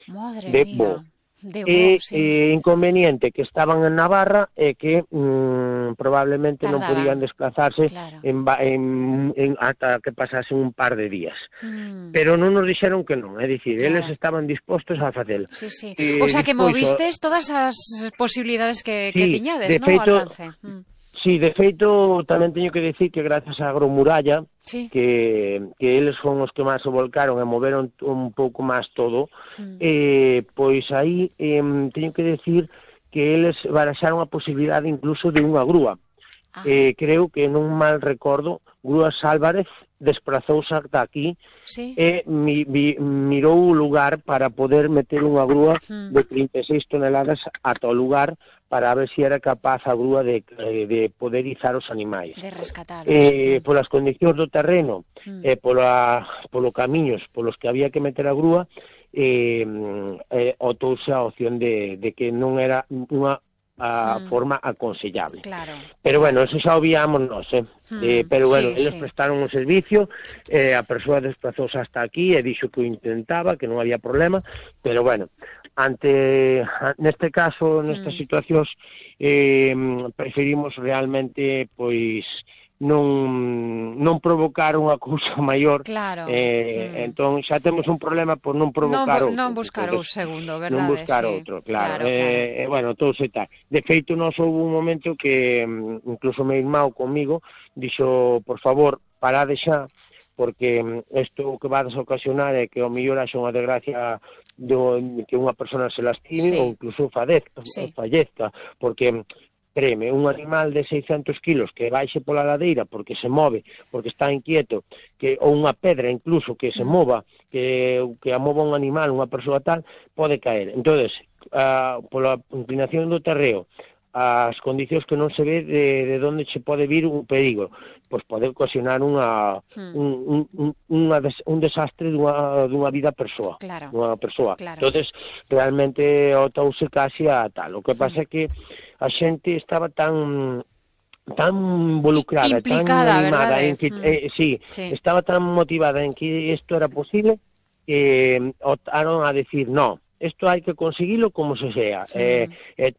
Madre de mía. voo. De voo, sí. Inconveniente que estaban en Navarra é que probablemente non podían desplazarse claro. ata que pasasen un par de días. Pero non nos dixeron que non, é dicir, eles estaban dispostos a facelo. Sí, sí. O sea, que movistes todas as posibilidades que tiñades, non, ao alcance. Sí, de feito, tamén teño que dicir que gracias á Agromuralla, que eles son os que máis se volcaron e moveron un pouco máis todo, pois aí teño que dicir que eles baraxaron a posibilidade incluso de unha grúa. Creo que non mal recordo, Grúas Álvarez desprazouse ata aquí e mirou o lugar para poder meter unha grúa de 36 toneladas ata o lugar para ver se era capaz a grúa de poder izar os animais. De rescatalos. Polas condicións do terreno e polo camiños polos que había que meter a grúa, otouse a opción de que non era unha forma aconsellable. Pero bueno, eso xa obviamos nós, pero bueno, eles prestaron un servicio, a persoa desplazouse hasta aquí e dixo que o intentaba, que non había problema, pero bueno, neste caso, nestas situacións, preferimos realmente, pois, non provocar unha cousa maior, entón xa temos un problema por non provocar outro. Non buscar o segundo, verdade? Non buscar outro, claro. Bueno, todo se tal. De feito, nos houve un momento que incluso meu irmão comigo dixo, por favor, parade xa, porque isto que vades a ocasionar é que ao mellor haxa unha desgracia que unha persona se lastime ou incluso fallezca, porque créeme, un animal de 600 kilos que baixe pola ladeira porque se move, porque está inquieto, ou unha pedra incluso que se mova, que a mova un animal, unha persoa tal, pode caer. Entonces, pola inclinación do terreo, as condicións que non se ve de onde se pode vir un perigo, pois pode ocasionar un desastre dunha vida persoa, dunha persoa. Entonces, realmente otouse casi a tal. O que pasa é que a xente estaba tan involucrada, implicada, tan animada, estaba tan motivada en que isto era posible, que optaron a decir, no, isto hai que conseguilo como se sea.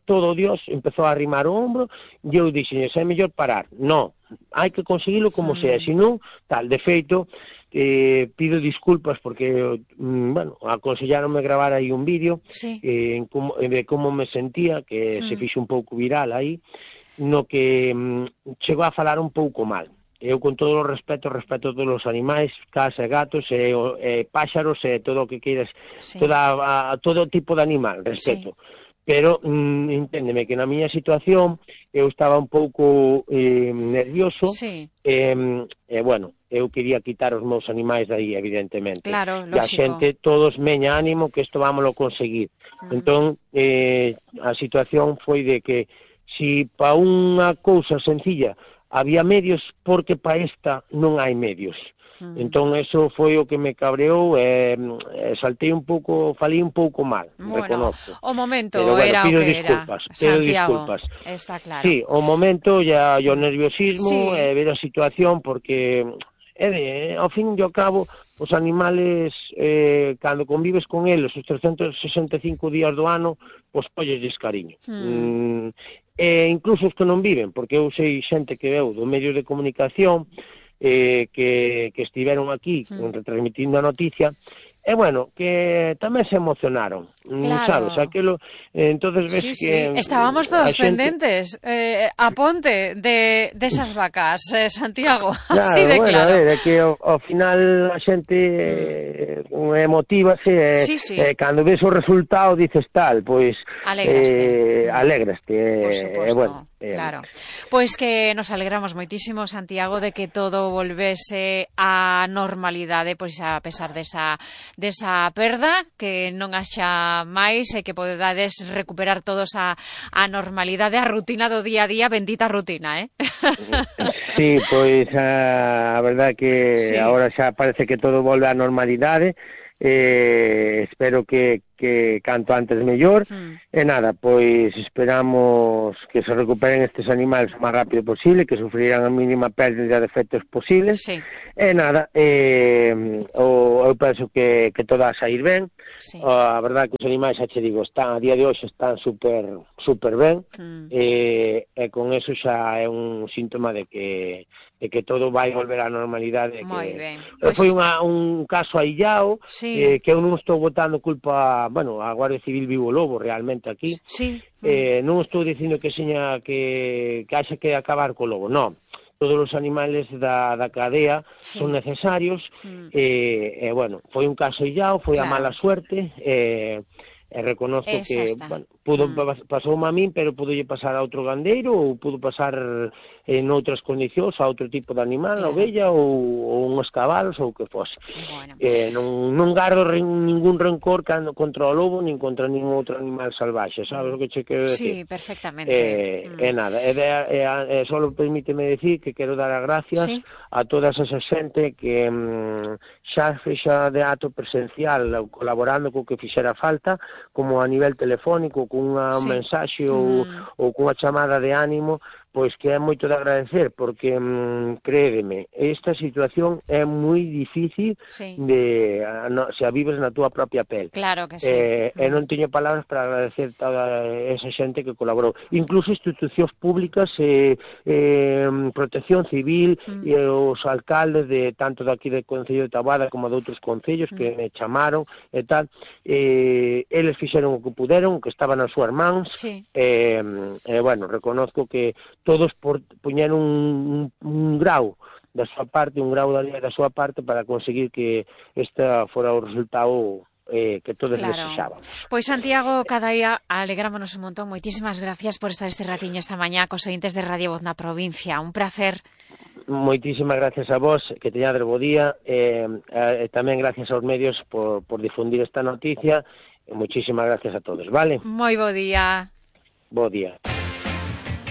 Todo Dios empezou a arrimar o hombro e eu dixen, é mellor parar. No, hai que conseguilo como sea, senón, tal, de feito, pido disculpas porque, bueno, aconsellaronme gravar aí un vídeo de como me sentía, que se fixo un pouco viral aí, no que chegou a falar un pouco mal. Eu, con todo o respeto todos os animais, casa e gatos, e páxaros, e todo o que queiras, todo tipo de animal, respeto. Pero, enténdeme, que na miña situación, eu estaba un pouco nervioso, e, bueno, eu quería quitar os meus animais de aí, evidentemente. Claro, lógico. E a xente, todos, meña ánimo, que isto vámoslo conseguir. Entón, a situación foi de que, si pa unha cousa sencilla había medios, porque pa esta non hai medios. Entón, eso foi o que me cabreou, saltei un pouco, falei un pouco mal, reconozco. O momento era o que era, Santiago, está claro. Sí, o momento, o nerviosismo, ver a situación, porque, ao fin e ao cabo, os animales, cando convives con eles os 365 días do ano, pois pollesles cariño. Incluso os que non viven, porque eu sei xente que veu do medio de comunicación, que estiveron aquí retransmitindo a noticia, e bueno, que tamén se emocionaron, sabes, aquilo, entonces ves que... Estábamos todos pendentes, a ponte desas vacas, Santiago, así de claro. É que ao final a xente emotívase, cando ves o resultado dices tal, pois... Alegraste, por suposto. Claro, pois que nos alegramos moitísimo, Santiago, de que todo volvese á normalidade, pois a pesar desa perda, que non haxa máis e que podades recuperar todos a normalidade, a rutina do día a día, bendita rutina, Sí, pois a verdade que agora xa parece que todo volve á normalidade, espero que que canto antes mellor, e nada, pois esperamos que se recuperen estes animales o máis rápido posible, que sufrirán a mínima pérdida de efectos posibles, e nada, eu penso que todo a sair ben, a verdade que os animais, xa che digo, están a día de hoxe están super ben, e con eso xa é un síntoma de que todo vai volver á normalidade. Foi un caso aillado, que eu non estou botando culpa, bueno, a Guardia Civil vivo lobo realmente aquí, non estou dicindo que seña que haxa que acabar co lobo, non. Todos os animales da cadea son necesarios, e bueno, foi un caso aillado, foi a mala suerte, e reconozco que, bueno, pasoume a min, pero pudolle pasar a outro gandeiro, ou pudo pasar en outras condicións a outro tipo de animal, a ovella, ou uns cabalos, ou o que fose. Non gardo ningún rencor contra o lobo, nin contra ningún outro animal salvaxe, sabes o que che quero decir? Sí, perfectamente. E nada, só permíteme decir que quero dar as gracias a toda esa xente que xa fexa de acto presencial, colaborando co que fixera falta, como a nivel telefónico, cun mensaxe ou cunha chamada de ánimo, pois que é moito de agradecer, porque, créedeme, esta situación é moi difícil se a vives na túa propia pel. Claro que sí. E non teño palabras para agradecer toda esa xente que colaborou. Incluso institucións públicas, Protección Civil, e os alcaldes de tanto daqui do Concello de Taboada como de outros concellos que me chamaron e tal, eles fixeron o que puderon, o que estaba nas súas mans, e bueno, reconozco que todos puñeron un grau da súa parte, un grau da súa parte para conseguir que este fora o resultado que todos desexábamos. Pois Santiago Cadaía, alegrámonos un montón. Moitísimas gracias por estar este ratiño esta mañá cos ointes de Radio Voz na provincia. Un placer. Moitísimas gracias a vos, que teñades bo día, e tamén gracias aos medios por difundir esta noticia, e moitísimas gracias a todos, vale? Moi bo día. Bo día.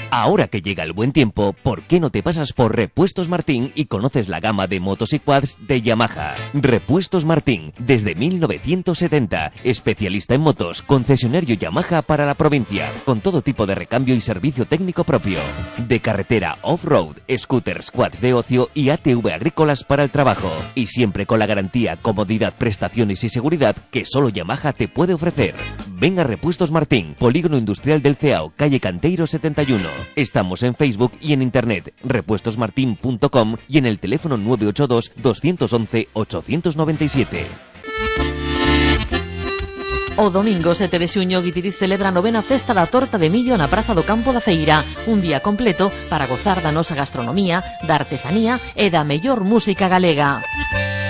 Ahora que llega el buen tiempo, ¿por qué no te pasas por Repuestos Martín y conoces la gama de motos y quads de Yamaha? Repuestos Martín, desde 1970, especialista en motos, concesionario Yamaha para la provincia, con todo tipo de recambio y servicio técnico propio. De carretera, off-road, scooters, quads de ocio y ATV agrícolas para el trabajo. Y siempre con la garantía, comodidad, prestaciones y seguridad que solo Yamaha te puede ofrecer. Ven a Repuestos Martín, Polígono Industrial del Ceao, calle Canteiro 71. Estamos en Facebook y en internet, repuestosmartin.com y en el teléfono 982 211 897. O domingo 7 de xuño, Guitiriz celebra a 9ª Festa da Torta de Millo na Praza do Campo da Feira, un día completo para gozar da nosa gastronomía, da artesanía e da mellor música galega.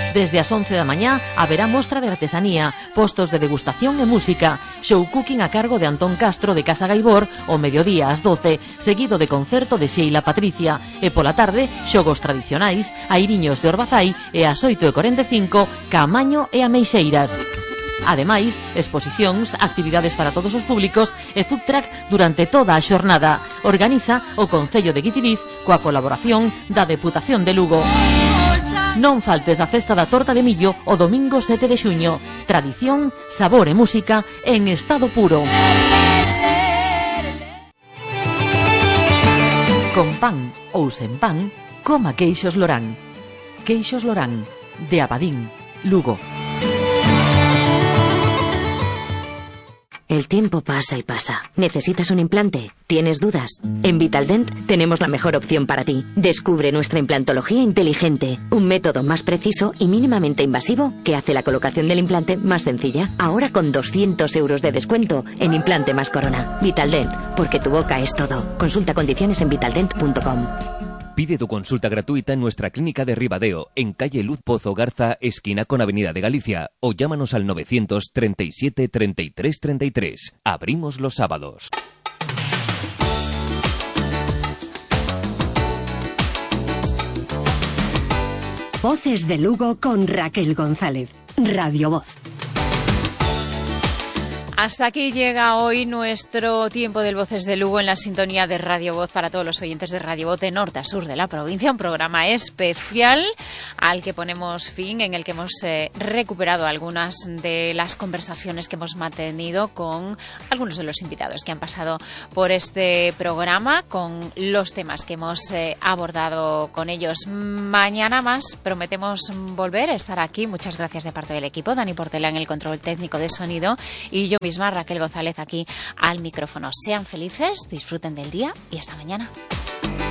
Desde as 11 da mañá haberá mostra de artesanía, postos de degustación e música, show cooking a cargo de Antón Castro de Casa Gaibor o mediodía ás 12, seguido de concerto de Sheila Patricia, e pola tarde xogos tradicionais, airiños de Orbazai e ás 8:45 Camaño e Ameixeiras. Ademais, exposicións, actividades para todos os públicos e food truck durante toda a xornada. Organiza o Concello de Guitiriz coa colaboración da Deputación de Lugo. Non faltes a Festa da Torta de Millo o domingo 7 de xuño. Tradición, sabor e música en estado puro. Con pan ou sen pan, coma Queixos Lorán. Queixos Lorán, de Abadín, Lugo. El tiempo pasa y pasa. ¿Necesitas un implante? ¿Tienes dudas? En Vitaldent tenemos la mejor opción para ti. Descubre nuestra implantología inteligente, un método más preciso y mínimamente invasivo que hace la colocación del implante más sencilla. Ahora con 200 euros de descuento en implante más corona. Vitaldent, porque tu boca es todo. Consulta condiciones en vitaldent.com. Pide tu consulta gratuita en nuestra clínica de Ribadeo, en calle Luz Pozo Garza, esquina con Avenida de Galicia, o llámanos al 937 33 33. Abrimos los sábados. Voces de Lugo con Raquel González. Radio Voz. Hasta aquí llega hoy nuestro tiempo del Voces de Lugo en la sintonía de Radio Voz para todos los oyentes de Radio Voz de norte a sur de la provincia. Un programa especial al que ponemos fin, en el que hemos recuperado algunas de las conversaciones que hemos mantenido con algunos de los invitados que han pasado por este programa, con los temas que hemos abordado con ellos. Mañana más prometemos volver a estar aquí. Muchas gracias de parte del equipo. Dani Portela en el control técnico de sonido y yo misma, Raquel González, aquí al micrófono. Sean felices, disfruten del día y hasta mañana.